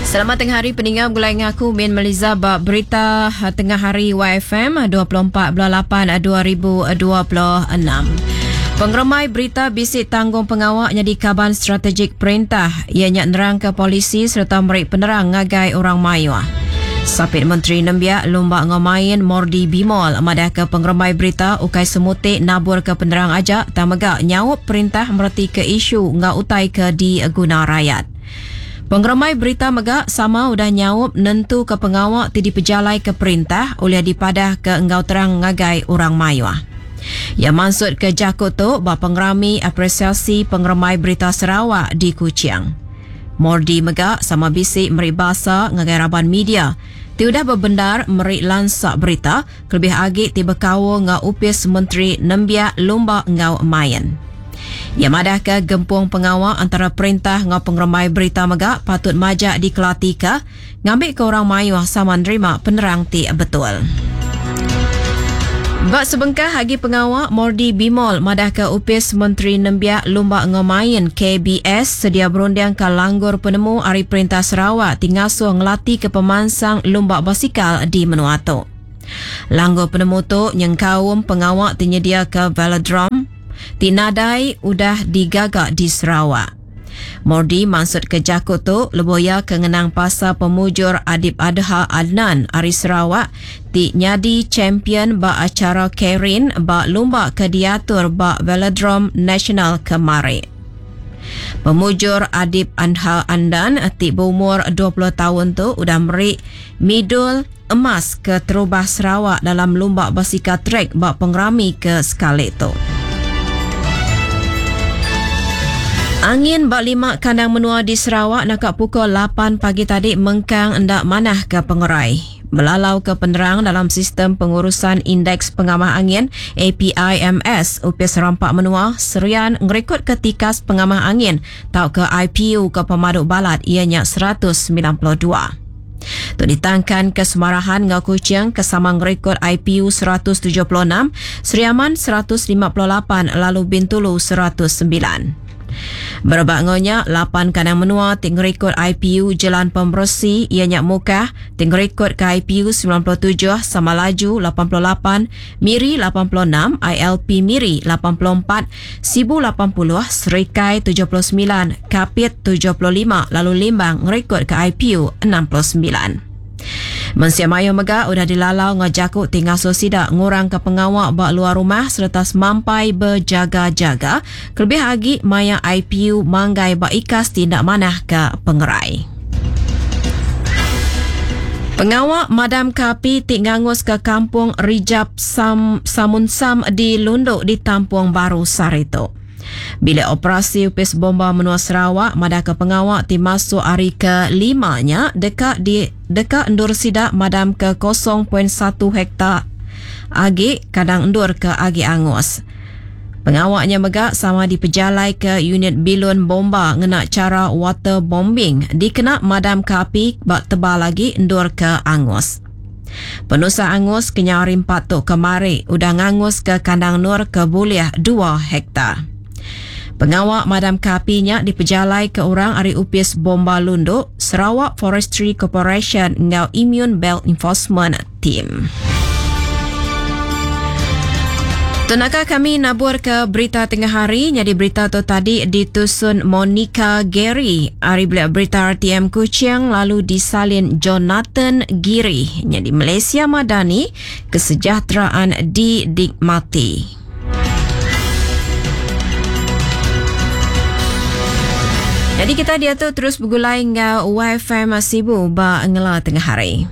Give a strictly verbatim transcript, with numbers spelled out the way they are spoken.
Selamat tengah hari peninga begulai dengan aku Min Meliza ba berita tengah hari Y F M dua puluh empat bulan lapan dua ribu dua puluh enam. Pengeremai berita bisi tanggung pengawa nyadi kaban strategik perintah ianya nerang ke polisi serta meri penerang ngagai orang mayuh. Sapit Menteri Nembiak Lumba Ngau Main Mordi Bimol madah ke pengeremai berita ukai semutik nabur ke penerang aja tang mega nyaup perintah mereti ke isu ngau utai ke diguna rakyat. Pengeremai berita mega sama udah nyaup nentu ke pengawa ti dipejalai ke perintah oleh dipadah ke enggau terang ngagai orang mayuh. Ia maksud ke jaku tu ba pengerami apresiasi pengeremai berita Sarawak di Kuching. Mordi mega sama bisi meri basa ngagai raban media ti udah berbendar meri lansak berita kelebih agi ti bekaul ngau Upis Menteri Nembiak Lumba Ngau Main. Ia madah ke gempung pengawa antara perintah ngau pengeremai berita mega patut majak dikelatika ngambil ke orang mayuh sama nerima penerang ti betul. Bak sebengkah agi pengawa Mordi Bimol madah ke Upis Menteri Nembiak Lumba Ngau Main K B S sedia berunding ke langgur penemu ari Perintah Sarawak ti ngasuh ngelati ke pemansang lumba basikal di menua tu. Langgur penemu tu nyengkaum pengawa ti nyedia ke velodrome ti nadai udah digaga di Sarawak. Mordi maksud ke jaku tu lebuh ia ke ngenang pasal pemujur Adib Adha Adnan ari Sarawak ti nyadi champion ba acara Keirin ba lumba ke diatur ba Velodrome Nasional kemari. Pemujur Adib Adha Adnan ti berumur dua puluh tahun tu udah meri midul emas ke terubah Sarawak dalam lumba basikal trek ba pengerami ke sekali tu. Angin ba lima kandang menua di Sarawak nakak pukul lapan pagi tadi mengkang endak manah ke pengerai. Melalau ke penerang dalam sistem pengurusan indeks pengamah angin A P I M S Upis Rampak Menua Serian ngerekod ke tikas pengamah angin tau ke I P U ke Pemaduk Balat ianya seratus sembilan puluh dua. Tu ditangkan ke Semarahan ngau Kuching ke sama ngerekod I P U seratus tujuh puluh enam, Seriaman seratus lima puluh lapan lalu Bintulu seratus sembilan. Berebak ngonya, lapan kandang menua ti ngerekod I P U Jalan Pembersih ianya Mukah ti ngerekod ke I P U sembilan puluh tujuh, Samalaju lapan puluh lapan, Miri lapan puluh enam, I L P Miri lapan puluh empat, Sibu lapan puluh, Serikai tujuh puluh sembilan, Kapit tujuh puluh lima, lalu Limbang ngerekod ke I P U enam puluh sembilan. Mensia Mayo mega udah dilalau ngajaku ti ngasuh sidak ngurang ke pengawak ba luar rumah serta semampai berjaga-jaga kelebih agi maya I P U manggai ba ikas tindak manah ke pengerai. Pengawak madam kapi ti ngangus ke kampung Rijap Sam, Samunsam di Lunduk di Tampung Baru Sarito. Bila operasi Upis Bomba Menua Sarawak madah ke pengawak ti masuk hari ke limanya dekat di dekat endur sidak madam ke kosong point satu hektar agi kadang endur ke agi angus. Pengawaknya mega sama dipejalai ke unit bilun bomba ngena cara water bombing dikena madam ke api bak tebal lagi endur ke angus. Penusa angus kenyari empat tu kemari udah ngangus ke kandang nur ke buliah dua hektar. Pengawak madam kapinya dipejalai ke orang ari Upis Bomba Lunduk, Sarawak Forestry Corporation ngau Immune Belt Enforcement Team. Tenaka kami nabur ke berita tengah hari, jadi berita tu tadi ditusun Monica Gary. Ari beliau berita R T M Kuching lalu disalin Jonathan Giri. Jadi Malaysia Madani, kesejahteraan didikmati. Jadi kita dia tu terus bergulai dengan Y F M Sibu ba ngela tengah hari.